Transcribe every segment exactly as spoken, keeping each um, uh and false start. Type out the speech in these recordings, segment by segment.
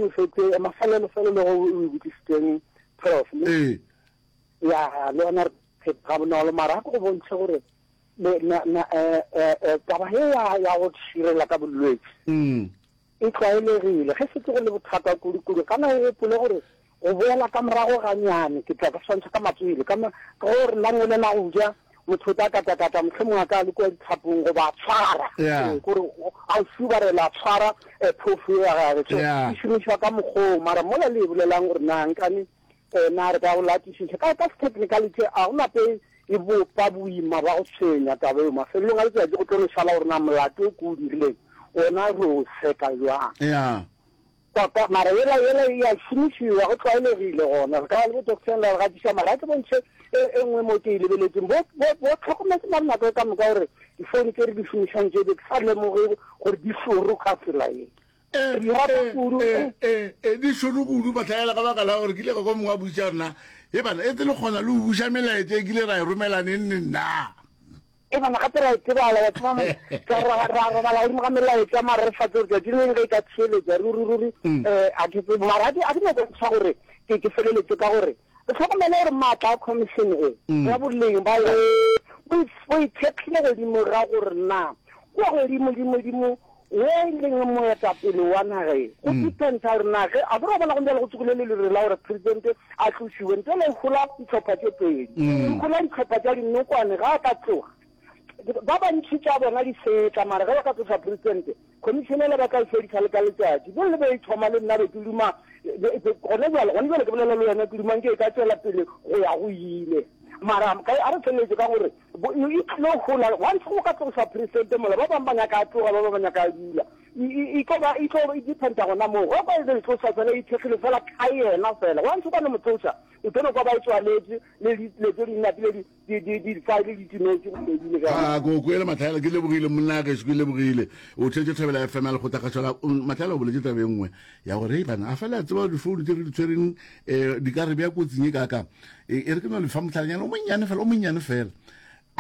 ke no fetse mafelelo felo le go o e botsisitseng prof ne? Ee. Ya le yona re ga bonolo mara a ke go bontšhe gore le na na eh eh eh taba ye ya ya go širela ka bolwetši Mm. e tlwaelegile ge setse go le bothata kudu-kudu kana o gopole gore go boela ka morago ganyane ke tla ka swantšha ka matswele ka ma- ka gore langwele la go ja motho o tla katakata mohlomongwe a ka le kua dithapong goba a tshwara Yeah. Ee, kore a o subarela a tshwara eh, phofu ya gage so Yeah. e šomišwa ka mokgoo mara mola le e bolelang gore na nkane um na re ka go latišiša ka ka technicality a go nape e bopa boima ba go tshwenya taba eo mafelelong a letsatsi go tlo no šala gore na molato o ke o dirileng ona re o seka jwang ya Ka- mara yela yela e a šomišiwa go tlwaelegile gona re ka ba le bo doctor la re gatiša mara a ke bontšhe e e nngwe mo ke e lebeletseng bo bo- bo tlhokometse mare nako e ka moka gore difounu tse re di šomišang tse be ke sa lemoge gore di šoro ka tsela ye Eh, Re di rata eh, kudu eh, eh, eh, di šoro kudu matlhaela ka baka la gore ke ile ka kwa mongwe a botša rena e bana e tse le kgona le go buša melaetša e kile ra e romela neng neng na e bana gape ra e tsebala wa tseba mo ka ra ra robala godimo ga melaetša mara re sa tsebe tšatši le leng ge e ka theeletša ruri ruri um a ke tsebe mara a ke a ke nyako ntšha gore ke ke feleletse ka gore re tlhokomele gore maatla a commission e ya boleng ba yona bo bo ithekgile godimo ga gore na kua godimo dimo dimo wo e leng moetapele wa naga e go dependa gore na ge a kere wa bona go bjale go tsogile le lere la gore president a tlošiwe ntle le gola ditlhopha tše pedi gola ditlhopha tša dinokwane ga a ka tloga ba bantši tša bona di fetla mara ge ba ka tloša president commission ele ba tla e fedisa le ka letšatši bo le be e thoma le nna be ke duma gone jale gone jale ke bolela le wena ke dumang ke e ka tswela pele go ya go ile mara ka a re feleletse ka gore bo- e e tlilo gola once go ka tloša president mola ba bangwe ba nyaka a tloga ba bangwe ba nyaka a dula E- e e tlo ba e tlo e dependa gona moo go ka e tloša fela e ithekgile fela ka yena fela once o ka no mo tloša o tlo no kwa ba e tswaletse le dilo tse di napile di di di di-file di timetse go fedile ka a ko kwele matlhaela ke lebogile monna gešo ke lebogile o theetse thobela fm ya lekgotlakgašo la matlhaela o boletse tabe e nngwe ya gore ei bana a fela a tseba difounu tse re di tshwereng um di ka re bja kotsing e kaka e e re ke no lefa motlhalanyana o monnyane fela o monnyane fela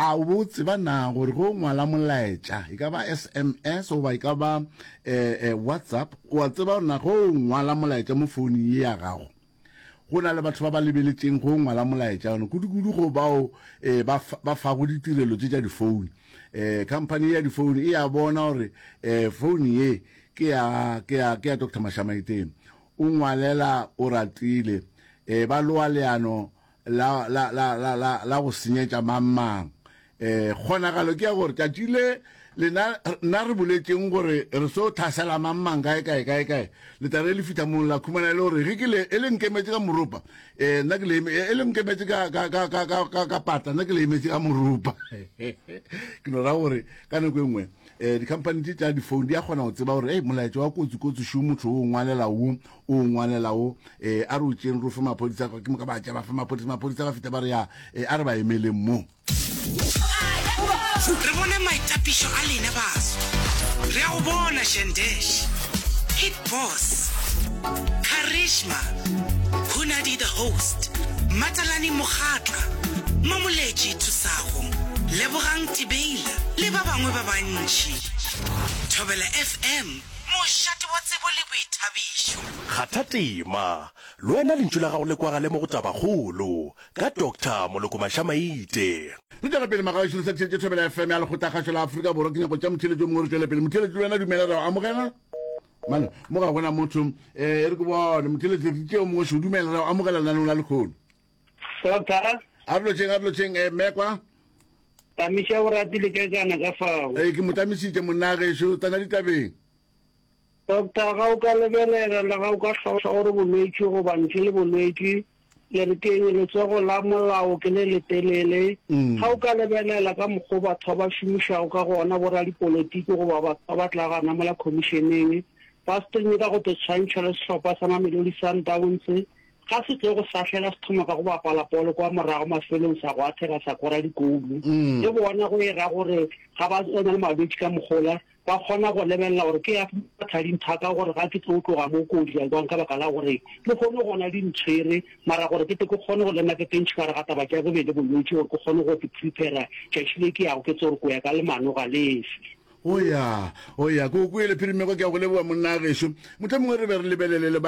a o bo tseba na gore go ngwala molaetša e ka ba sms goba e ka ba um whatsapp o a tseba gore na go ngwala molaetša mo founung ye ya gago go na le batho ba ba lebeletšeng go ngwala molaetša one kudu-kudu go bao um ba fa- ba fago ditirelo tše tša difoune um company ya difoune e ya bona gore um foune ye ke ya ke ya ke ya dr mashamaiteng o ngwalela o ratile um ba loa leano la la la la la la go senyetša mang um kgonagalo ke ya gore tšatši le lena nna re boletšeng gore re so tlhasela mang mang kae kae kae kae le tla re le fitlha mong la khumana e le gore ge ke le e le nkemetse ka moropa um nna ke le eme- e le nkemetse ka ka ka ka ka ka ka pata nna ke le emetse ka moropa ke no ra gore ka nako e nngwe um di-company tše tša difoune di a kgona go tseba gore ei molaetša wa kotsi kotsi šo motho o ngwalela wo o ngwalela wo um a re o tšeng re o fe maphodisa ke moka ba tša ba fe maphodisa maphodisa ba feta ba re ya um a re ba emeleng mo re bone maitapišo a lena baso re a go bona shendesh hit boss charisma hunadi the host matalane mogatla mamoletši thusago lebogang tibeila le ba bangwe ba bantši thobela fm mošate wa tsebo le boithabišo kgatha tema le wena lentšu la gago le kwagale mo go tabakgolo ka dr moloko mašamaite re tšwela pele magaešo le sa tšhetše thobela fm ya lekgotlakgašo la afrika borwa ke nyako tša motheletši o mongwe re tšwele pele motheletši le wena dumela re o amogela mane mo ga gona motho um e re ke bone motheletši re tšeo mongwe šo dumela re o amogela lenaneng la lekgono Doctor, a re lotšheng a re lotšheng um mekwa tamiša o ratile ka kana ka fao. ee ke mo tamisitše monna gešo tsena ditabeng Doctor, ga o ka lebelela le ga o ka hlalosa gore bolwetši goba ntle le bolwetši, le re keng letsogo la molao ke le letelele. Mm. Ga o ka lebelela ka mokgwa batho ba ba šomišago ka gona boradipolotiki goba batho ba ba tla gana mola commissioneng, ba se ka go te tshwantšha le sehlopha sa Mamelodi Sundowns ga se tlo go sahlela se thoma ka go bapala polo kwa morago mafelong sa go athega sa kora dikoulo Mm. le bona go e ra gore ga ba na le malwetši ka mogola ba kgona go lebelela gore ke ya thadinthaka gore ga ke tlo tloga mo kodi ka kwang ka baka la gore le kgone gona di ntshwere mara gore ke te ke kgone go lena ke tentšhe ka re ga taba tša bobedi bolwetši gore ke kgone go ke prepara tšatši le ke yago ke tse gore ko ya ka lemano ga lefe o ya o ya ko kwele phirimeko ke a go leboa monna gešo motlho mongwe re be re lebelele le